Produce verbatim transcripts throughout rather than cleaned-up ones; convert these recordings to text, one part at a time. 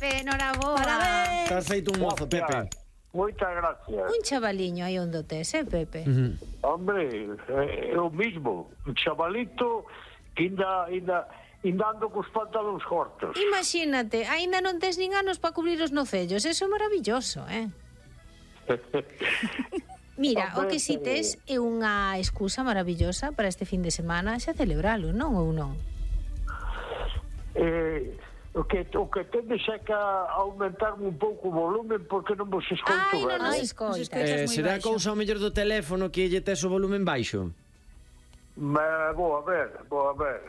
Pepe, noraboa. Parabéns. Estás feito un mozo, Pepe. Moitas gracias. Un chavaliño aí onde tes, eh, Pepe? Uh-huh. Hombre, é o mismo. Un chavalito que ainda, ainda, ainda ando cos pantalóns cortos. Imagínate, aínda non tes nin anos para cubrir os nocellos. Eso é maravilloso, eh? Mira, o que si tes é unha excusa maravillosa para este fin de semana xa celebralo, non ou non? Eh, o que o que tendes é que aumentar un pouco o volumen porque non vos escoito Ai, non ben. nos Ai, escoitas. nos escoitas. Eh, moi será baixo. cousa ao mellor do teléfono que lle tes o volumen baixo? Me, vou a ver, vou a ver.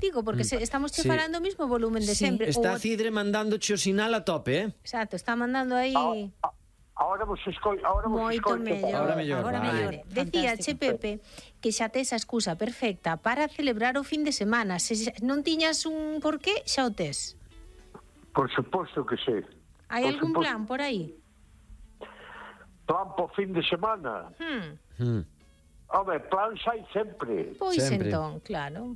Digo, porque se, estamos che Sí. falando o mismo volumen de Sí. sempre. Está O- Cidre mandándoche o sinal a tope, eh? Exacto, está mandando aí... A- a- Ahora vos escoito, ahora vos Moito escoito. mellor. Ahora mellor, Agora vale. mellor. Decía, che, Pepe, que xa tes a excusa perfecta para celebrar o fin de semana. Se xa- non tiñas un porqué, xa o tes. Por suposto que sí. Hai Por algún suposto. plan por aí? Plan po fin de semana. Hmm. Hmm. Home, plan hai sempre. Pois Sempre. entón, claro.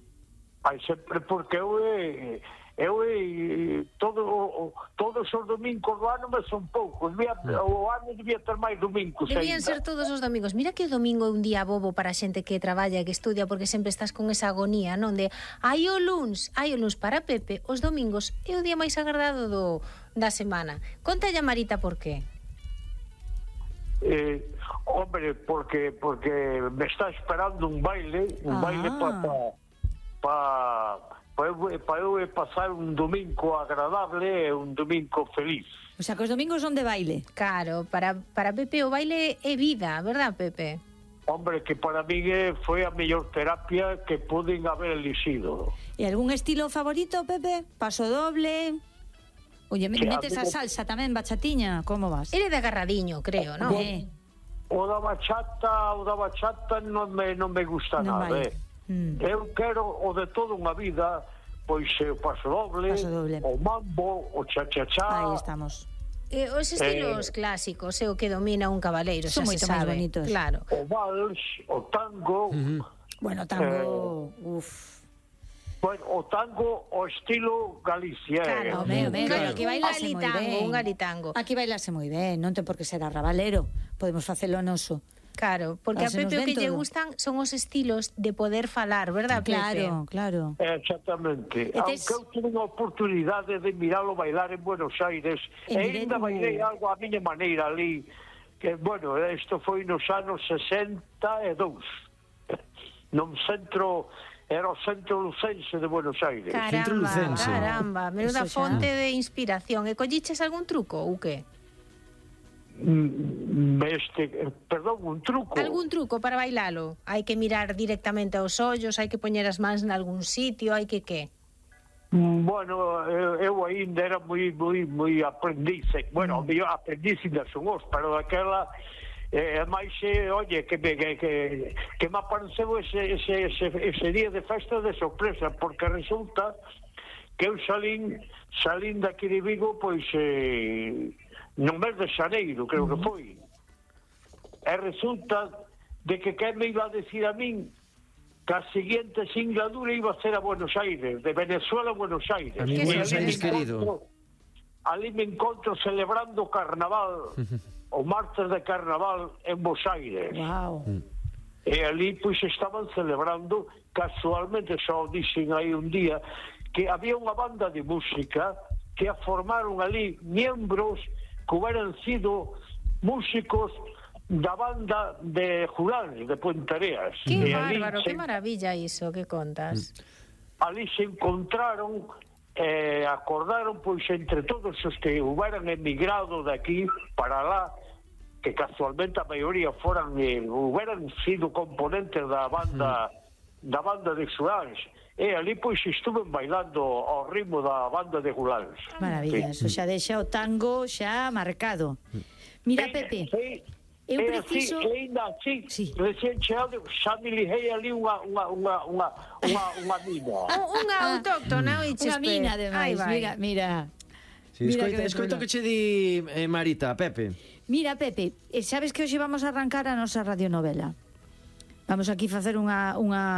Hai sempre porque eu é... Eu é... Todo, o, todos os domingos do ano me son poucos. Debía, o ano debía ter máis domingos. Debían ainda. ser todos os domingos. Mira que o domingo é un día bobo para a xente que traballa e que estudia, porque sempre estás con esa agonía, non? De, hai o luns, hai o luns para Pepe, os domingos é o día máis agardado do, da semana. Contalle a Marita por qué. Eh, hombre, porque porque me está esperando un baile, un Ah. baile para pa, pa, eu, pa eu pasar un domingo agradable e un domingo feliz. O sea, que os domingos son de baile. Claro, para, para Pepe o baile é vida, verdad, Pepe? Hombre, que para mí eh, foi a mellor terapia que poden haber elixido. E algún estilo favorito, Pepe? Paso doble? Oye, me Que metes a amigo- salsa tamén, bachatiña? Como vas? Ele de agarradiño, creo, non? Eh, O da bachata, o da bachata non me, non me gusta Non nada, vai. eh. Mm. Eu quero o de toda unha vida, pois eh, o paso doble, Paso doble. o mambo, o cha-cha-cha. Aí estamos. Eh, os estilos Eh, clásicos é o que domina un cabaleiro, Son xa se moito máis sabe. bonitos. Claro. O vals, o tango, Bueno, tango... Uf. bueno, o tango, o estilo Galicia. eh. Claro, Home, home, un, pero gali- aquí un bailase moi galitango, ben. un galitango. Aquí bailase moi ben, non ten por que ser arrabalero. Podemos facelo noso. Claro, porque a Pásenos Pepe o que ben lle todo. gustan son os estilos de poder falar, verdad, Pepe? Claro, claro. Exactamente. E tes- Aunque eu tive a oportunidade de miralo bailar en Buenos Aires, En e ainda directo. bailei algo a miña maneira ali, que, bueno, isto foi nos anos sesenta e dous. Non centro, era o centro lucense de Buenos Aires. Centro Caramba, Lucense. caramba, menuda Eso xa. fonte de inspiración. E colliches algún truco ou que? Mm, Este, perdón, un truco. Algún truco para bailalo? Hai que mirar directamente aos ollos, hai que poñer as mans nalgún sitio, hai que que? Mm, Bueno, eu, eu ainda era moi moi moi aprendiz. Bueno, mm. eu aprendiz ainda son os, pero daquela é eh, máis, eh, oye, que me, que, que, que me apareceu ese, ese, ese, ese día de festa de sorpresa, porque resulta que eu salín, salín daqui de Vigo, pois, eh, no mes de xaneiro, creo que foi. E resulta de que quen me iba a decir a min que a seguinte singladura iba a ser a Buenos Aires, de Venezuela a Buenos Aires. A mi Que Buenos sí, Aires sí. querido. Ali me encontro celebrando o carnaval, o martes de carnaval en Buenos Aires. Wow. E ali, pois, estaban celebrando, casualmente, só dixen aí un día, que había unha banda de música que a formaron ali miembros que hubieran sido músicos da banda de Jurán, de Puentareas. Que E ali bárbaro, se- que maravilla iso que contas. ali se encontraron eh, acordaron pois entre todos os que hubieran emigrado de aquí para lá, que casualmente a maioría foran eh, hubieran sido componentes da banda da banda de Xuláns, e ali pois estuven bailando ao ritmo da banda de Xuláns. Maravilla, eso xa deixa o tango xa marcado. Mira, Pepe, Sí, eu é preciso- así, e ainda así, Sí. recién chegado, xa me liguei ali unha unha unha unha unha, unha mina. Un- Unha autóctona, oiches, unha mina, Pe. ademais. Aí vai. Mira, mira. Sí, Mira escoita, que escoita chulo. que che di eh, Marita, Pepe. Mira, Pepe, eh, sabes que hoxe vamos a arrancar a nosa radionovela. Vamos aquí facer unha unha